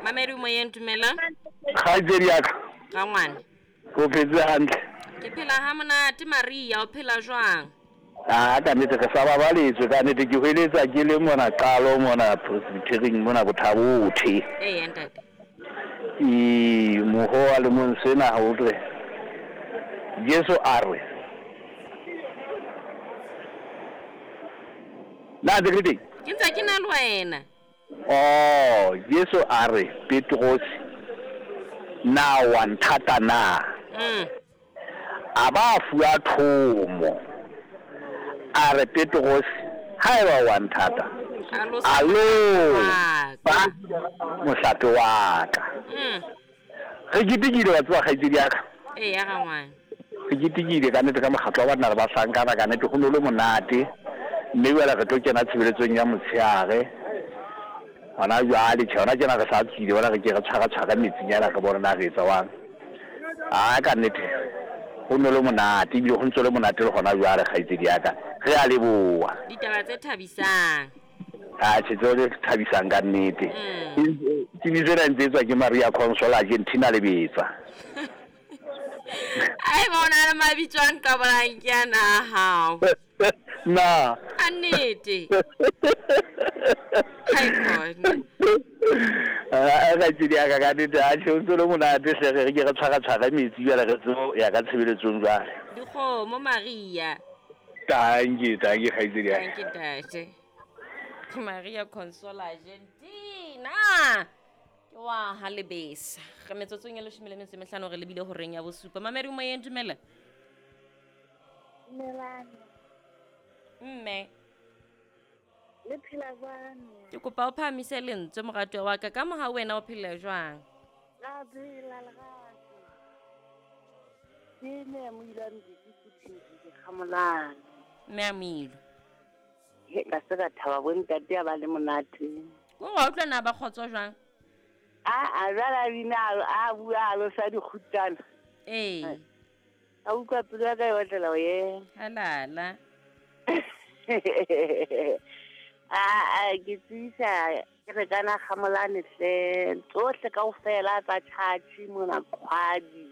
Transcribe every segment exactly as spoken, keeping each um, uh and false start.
Mamedi moyeng, dumela. Kgaitsedi ya ka. Rangwane. O phetse hantle? Ke phela ha monate Maria, o phela jwang? Ah, ka nnete re sa babaletswe, ka nnete ke hweletsa ke le mona qalo mona Presbyterian mona Bothabothe. Ee, ntate. Ee, moho wa le mong sena ha o tle. Jesu a re. Na ntse ke le teng? Ke ntse ke na le wena. Oh, Jesu a re Petrose, na wa nthata na? Mm. A ba fuwa thomo. A re Petrose, haeba wa nthata, Alosa alo wa ba ka. mohlape wa ka. Mm. Re ketekile wa tseba kgaitsedi ya ka. Ee, ya rangwane. Re ketekile ka nnete ka mokgatlo wa banna le bahlankana, ka nnete ho no le monate. Mme jwale re tlo kena tshebeletsong ya motshehare. Hona jwale tjhe, hona tjena re sa tswile, bona re ke re tshwara-tshwara metsinyana re bone na re etsa jwang. Ah, ka nnete ho no le monate, ebile ho ntso le monate le hona jwale kgaitsedi ya ka. Re a leboha. Ditaba tse thabisang. Ah, tjhe, tseo tse thabisang ka nnete. Mm. Tsebiso ena e ntse etswa ke Maria Consola Argentina Lebetsa. Ai, ba o na le mabitso a nqabolang ke ana a hao. Na. Ka nnete. Hai khona. Ah, kgaitsedi ya ka, ka nnete, ah, tjhe, ho ntso le monate hle, re ke re tshwara-tshwara metsi jwale re tsebo ya ka tshebeletsong jwale. Dikgomo Maria. Tanki, tanki kgaitsedi ya ka. Tanki ntate. Ke Maria Consola Argentina. Ke wa ha Lebesa. Re metsotsong e leshome le metso e mehlano re lebile horeng ya bosupa. Mamedi moyeng, dumela. Dumelang. Mme. Le phela jwang? Ke kopa o phahamise lentswe moratuwa wa ka, ka moha wena o phela jwang? Ra phela lerato. Ke mme ya Moilo a Mbidi ke Kgamolane. Mme ya Moilo. He, ka se ka thaba bo ntate a ba le monate. Ko wa utlwa na ba kgotso jwang? A a jwale a bina a, a bua a losa dikgutana. Ee. A utlwa pelo ya ka e otlela ho yena. Halala. A, a, ke tsebisa ke re kana Kgamolane hle, tsohle kaofela tsa tjhatjhi mona Kgwadi.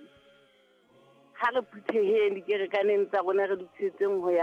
Ha re phutheheng dikerekaneng tsa rona re lokisetseng ho ya